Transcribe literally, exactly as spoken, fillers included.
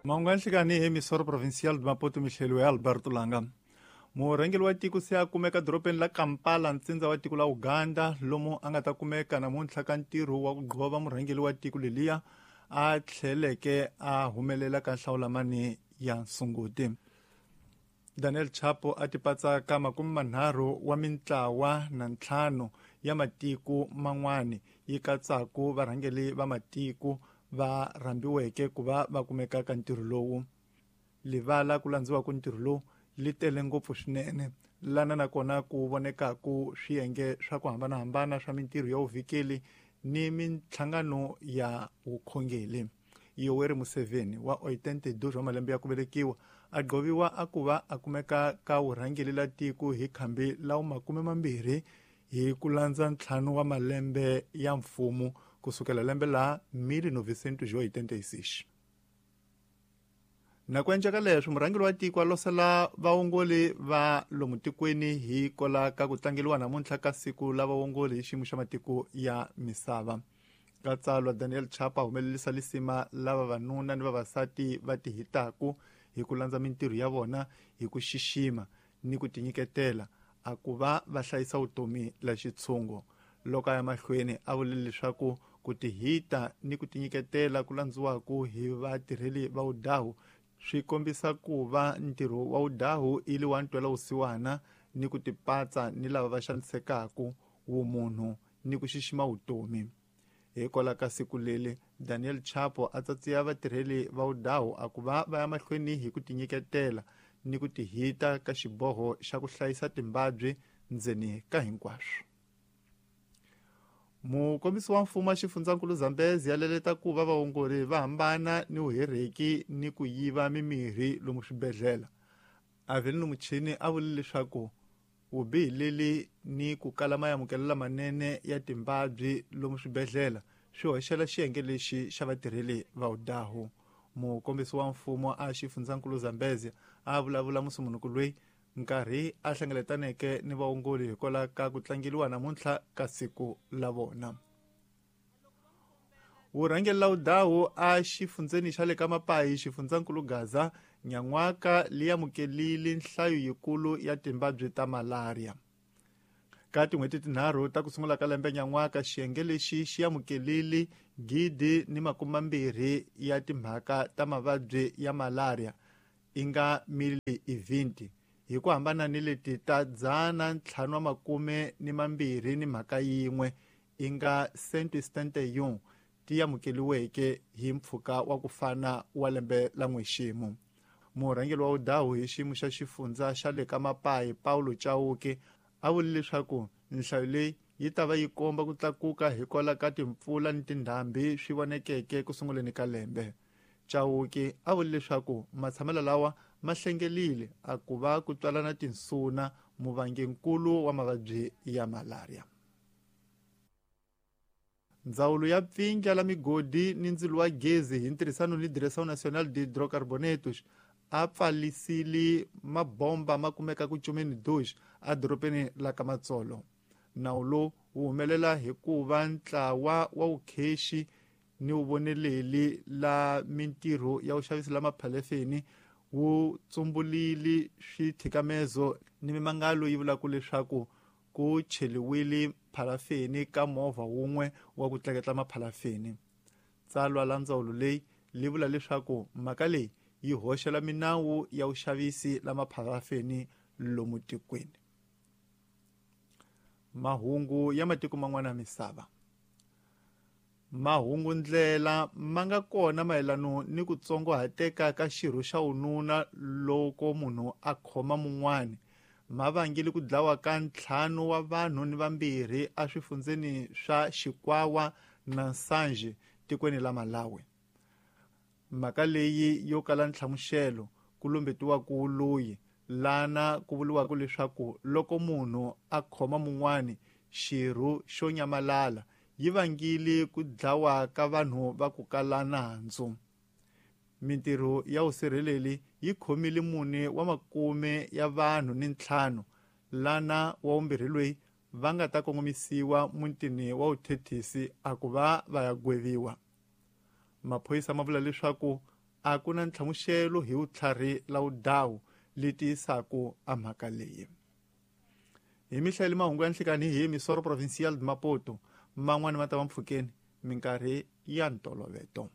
Mahungu ya nhlikani hi Emissora Provincial de Maputo mihleliwe Alberto Langa. Murhangeri wa tiko se a kumeka dorobeni la Kampala ntsindza wa tiko la Uganda lomu a nga ta kumeka namuntlha ka ntirho wa ku gqova murhangeri wa tiko leliya a tlheleke a humelela ka nhlawulamani ya Nsunguti. Daniel Chapo a tipatsa ka makume manharhu wa mintlawa na ntlhanu ya matiko man'wani yi katsaku varhangeri va matiko va rhambiweke ku va va kumeka ka ntirho lowu. Livala ku landziwa ku ntirho lowu li tele ngopfu swinene lana nakona ku vonekaku swiyenge swa ku hambanahambana swa mintirho ya vuvikeli ni minhlangano ya vukhongeri. Yoweri Museveni wa ochenta e dois wa malembe ya ku velekiwa a gqoviwa a ku va a kumeka ka vurhangeri la tiko hi khambi la makume mambirhi hi ku landza ntlhanu wa malembe ya mfumo kusukela lembe la mil novecentos e oitenta e seis. Na ku endleka leswi murhangeri wa tiko a losela vaongoli va lomu tikweni hi kola ka ku tlangeriwa namuntlha ka siku la vaongoli hi xiyimo xa matiko ya misava. Ka tsalwa Daniel Chapo a humelerisa lisima la vavanuna ni vavasati va tihitaku hi ku landza mintirho ya vona hi ku xixima ni ku tinyiketela a ku va va hlayisa vutomi la xitshungu. Loko a ya mahlweni a vule leswaku ku tihita ni ku tinyiketela ku landziwaku hi vatirheli va vudahu swi kombisa ku va ntirho wa vudahu i li wa ntwela vusiwana ni ku tipatsa ni lava va xanisekaku vumunhu ni ku xixima vutomi. Hikwalaho ka siku leli Daniel Chapo a tsatsiya vatirheli va vudahu a ku va va ya mahlweni hi ku tinyiketela ni ku tihita ka xiboho xa ku hlayisa timbabyi ndzeni ka hinkwaswo. Mukombisi wa mfumo wa xifundzankulu Zambezi ya leleta ku va vaongori va hambana ni vuherheki ni ku yiva mimirhi lomu swibedhlele. Avelino Muchini a vule leswaku vubihi leli ni ku kala maamukelo lamanene ya timbabyi lomu swibedhlele swi hoxela xiyenge lexi xa vatirheli va vudahu. Mukombisi wa mfumo a xifundzankulu Zambezi a vulavula musumunuku loyi nkarhi a hlengeletaneke ni vaongoli hikwalaho ka ku tlangeriwa namuntlha ka siku la vona. Vurhangeri la vudahu a xifundzeni xa le ka Mapayi xifundzankulu Gaza nyan'waka li amukelile nhlayo yikulu ya timbabyi ta malaria. Ka tin'hweti tinharhu ta ku sungula ka lembe nyan'waka xiyenge lexi xi amukelile gidi ni makume mambirhi ya timhaka ta mavabyi ya malaria i nga mil e vinte hi ku hambana ni leti ta dzana ntlhanu wa makume ni mambirhi ni mhaka yin'we i nga cento e setenta e um ti amukeliweke hi mpfhuka wa ku fana wa lembe la n'wexemu. Murhangeri wa vudahu hi xiyimo xa xifundza xa le ka Mapayi Paulo Chauke a vule leswaku nhlayo leyi yi ta va yi komba ku tlakuka hikwalaho ka timpfula ni tindhambi swi vonekeke ku sunguleni ka lembe. Chauke a vule leswaku matshamelo lawa ma hlengelile a ku va ku twalana tinsuna muvanginkulu wa mavabyi ya malaria. Ndzawulo ya pfindla la migodi ni ndzilo wa gezi hi ntirhisano ni Direção Nacional de Hidrocarbonetos a pfalisile mabomba ma kumeka ku cumeni dois edorobeni la ka Matsolo. Nawu lowu wu humelela hikuva ntlawa wa vukhexi ni vuvoneleli la mintirho ya vuxavisi la maphalefeni wu tsumbulile swithikamezo ni mimangalo yi vulaka leswaku ku cheliwile phalafeni ka movha wun'we wa ku tleketla maphalafeni. Tsalwa la ndzawulo leyi li vula leswaku mhaka leyi yi hoxela minawu ya vuxavisi la maphalafeni lomu tikweni. Mahungu ya matiko man'wana ya misava. Mahungu ndlela ma nga kona mayelano ni ku tsongohateka ka xirho xa wununa loko munhu a khoma mun'wani ma vangile ku dlawa ka ntlhanu wa vanhu ni vambirhi eswifundzeni swa Xikwawa na Nsanje tikweni la Malawi. Mhaka leyi yo kala nhlamuxelo ku lumbetiwaku loyi lana ku vuriwaka leswaku loko munhu a khoma mun'wani xirho xo nyamalala yi vangile ku dlawa ka vanhu va ku kala nandzu. Mintirho ya vusirheleli yi khomile mune wa makume ya vanhu ni ntlhanu lana wa vumbirhi loyi va nga ta kongomisiwa mutini wa vuthethisi a ku va va ya gweviwa. Maphorisa ma vula leswaku A ku na ntlhamuxelo hi vutlhari la vudawu leti yisaku a mhaka leyi. Hi mihlayeli mahungu ya nhlikani hi Emissora Provincial de Maputo, man'wani ma ta va mpfhukeni minkarhi ya ntoloveto.